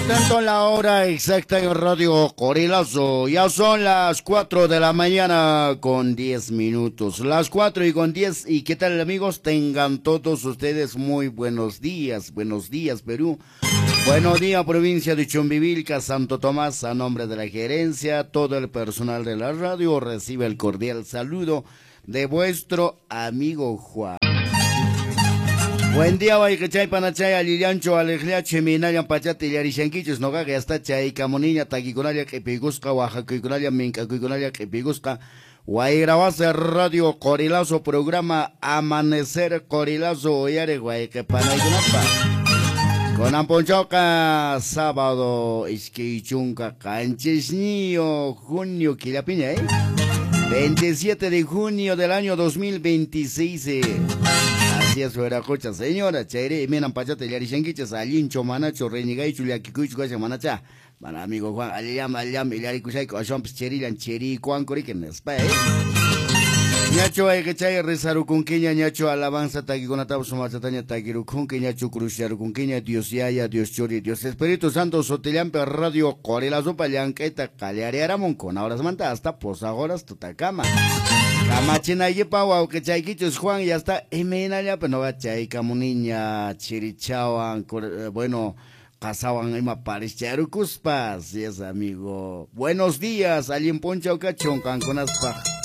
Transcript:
Atento a la hora exacta en Radio Qorilazo. Ya son las 4 de la mañana con 10 minutos. Las 4 y con 10. ¿Y qué tal, amigos? Tengan todos ustedes muy buenos días. Buenos días, Perú. Buenos días, provincia de Chumbivilca, Santo Tomás. A nombre de la gerencia, todo el personal de la radio recibe el cordial saludo de vuestro amigo Juan. Buen día, wayqichay, panachay, allillanchu, aleqllachu, imaynallan pachata illarishankichis, noqaqa yasta chaykamuniña, takikunalla q'ipiykusqa, waqakuykunalla, mink'akuykunalla q'ipiykusqa, Wayrawasi Radio Qorilazo programa Amanecer Qorilazo uyariq wayqi panaykunapaq. Kunan p'unchawqa sábado 27 junio killapiña, ¿eh? 27 de junio del año 2026. Así es, wiraqucha, señora, chayri imaynan pachata illarishankichis, allinchu, manachu, reñigaychu, llakikuychu kashan manacha. Mana amigo Juan, allillam, allillam, illarikushayku, aswanpas chirillan, chirikuanku riki nispa, ¿eh? Ñachu wayqichay rezarukunkiña, ñachu alabanza takikunatapas sumachataña takirukunki, ñachu cruzcharukunkiña, Dios Yaya, Dios Churi, Dios Espíritu Santo, sotillampi Radio Qorilazopa llank'ayta qallariaramun kuna horasmanta hasta posaq horas tutakama. Kamachinaykipa wawqichaykichus Juan, ya está, imaynallapi noqa chaykamuniña, chirichawan, bueno, qasawan ima parischarukuspa. Así es, amigo. Buenos días, allin p'unchaw kachun qankunaspaq.